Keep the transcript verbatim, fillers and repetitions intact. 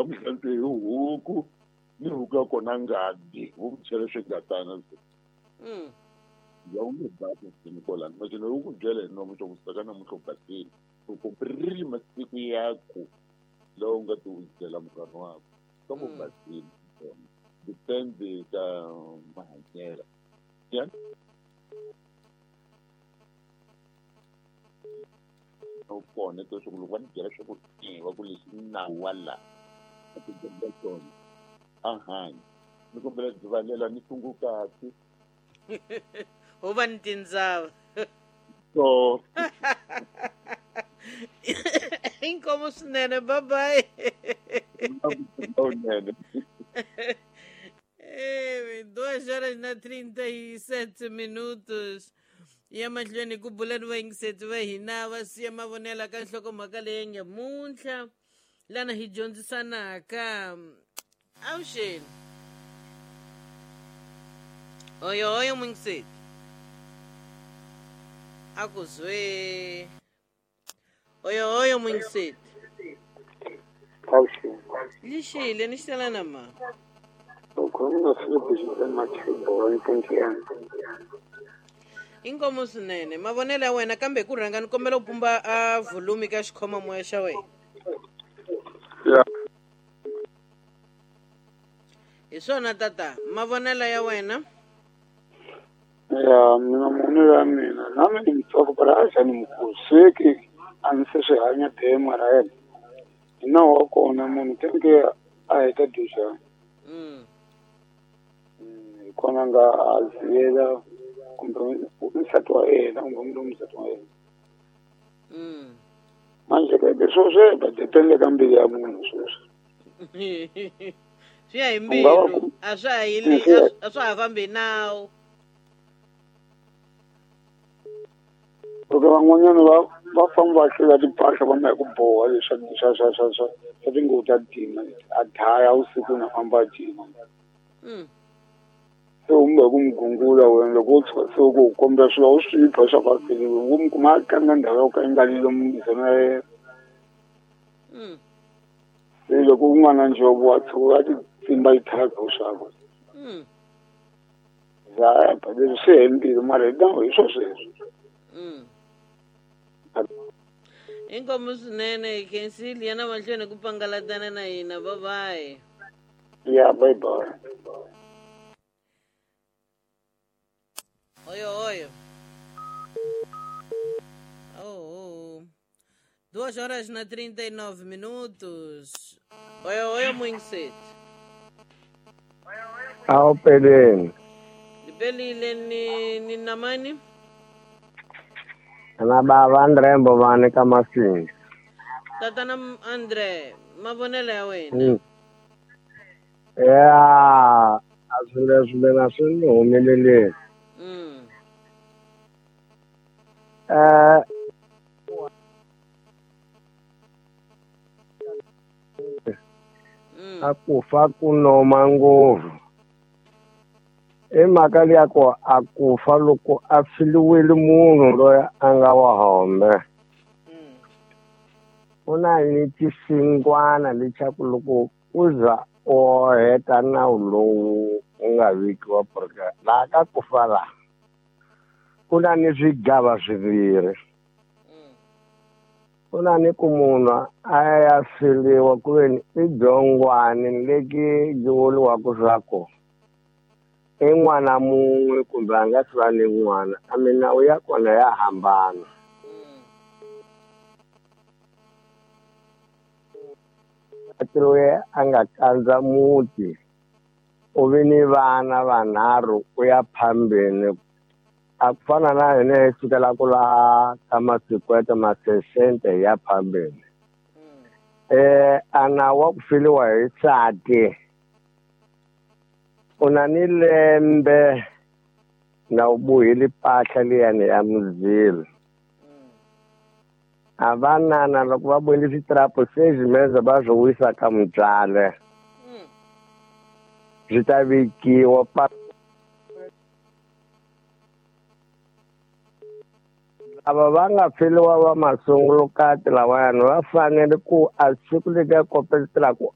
Va n'wi hlantswe hi huku ni huku ya kona ngati vo n'wi chela swingatana se. Mm. Ya u nge basi swinene kwalano machine u ku byela hi nomu swa ku saka namuntlha u basile u komberile masiku ya ku lawa u nga ti wisela munghana wakwe ka mu Mm. basile depends ka mahanyelo ya kona leswaku loko va ni byela swa ku e va ku leswi i nawu wa laha a ti byela swona a hanya ni kombela rivalela ni sungukati Ho va ni tindzava. So Inkomu swinene, bye bye. Lowunene. Eh, duas horas na trinta e sete minutos. Ya mahlweni ku bula ni vayingiseti va hina va siya mavonelo ka nhlokomhaka leyi nge muntlha lana hi dyondzisanaka. Avuxeni. Oyo oyo muyingiseti. A ku zwe. Oyo oyo muyingiseti. Avuxeni. Lixile ni xitela na ma. U khuluma na Philip Jordan Mathebo Mpuntiana. Inkomu swinene mavonelo ya wena kambe hi ku rhanga ni kombela u pumba a volume ka xikhomamoya xa wena. Ya. Hi swona tata mavonelo ya wena. Ya mina mavonelo ya mina na mina ni mutsongo but a xa ni mukulu sweki a ni se swi hanya be mara yena hi nawu wa kona munhu teke a heta dyuxa. Mm. Hi kona nga a ziyela kumbe nsati wa yena kumbe munhu nsati wa yena. Mm. Manje ke leswo swi ba depende ka mbilu ya munhu sweswi. Swi ya hi U nga va mbilu ku- a swa ha yili Mm, swi ya- a swa ha fambi hi nawu. Loko van'wanyana va va famba va hlula timpahla va ma hi ku boha leswa swa swa swa swa swa tinguvu ta ntima a daya vusiku na famba a cina. Mm. Se u mbe ku n'wi gungula wena loko u tshuka se u ku kombela swilo u swi pha swa ku a feliwe u n'wi kuma a tlanga ndhawu yo ka yi nga lomu ya yena. Mm. Se loko u nga na njovo wa tshuka a ti tsimba yi thyaka u xava. Mm. Ya leswi swi he mbilu mara hi nawu hi swo sweswo. Mm. Inkomu swinene hi khensile ya na mahlweni ku pangalatana na hina bye bye. Ya bye bye. Oyo oyo. Oh, oh. Duas horas na trinta e nove minutos. Oyo oyo muyingiseti. Awu peleni. Lipelile ni ni namani? Na baba Andre Mbovane ka Masinga. Tatana Andre, mavonelo ya wena. Mm. Ya, a swi leswi mina swi ni humeleleni. Mm. Eh Mm. a ku fa ku noma ngopfu. I mhaka liya ku a ku fa loko a filiwile munhu loyi a nga wa hombe. Mm. Ku na ni xisingwana lexaku loko u za u heta nawu lowu u nga vekiwa porque laha ka ku fa laha ku na ni swigava swimbirhi. Mm. Ku na ni ku munhu a ya filiwa ku ve ni i byongwani leki byi vuriwaka swa ku i n'wana mun'we kumbe a nga si va ni n'wana a milawu ya kona ya hambana. Mm. Loyi a nga kandza muti u vi ni vana vanharhu ku ya phambeni a ku fana na hina hi sukela ku laha ka masikwete masesente ya phambeni. Mm. Eh a nawu wa ku filiwa hi nsati u na ni lembe na u bohile mpahla liyani ya muzilo. Mm. A vanana loko va bohile switrapu se swimeza va swi wisa ka mutswale. Mm. Swi ta vekiwa pa lava va nga feliwa va masungulukati lawayani va fanele ku a siku leriya kopeletelaku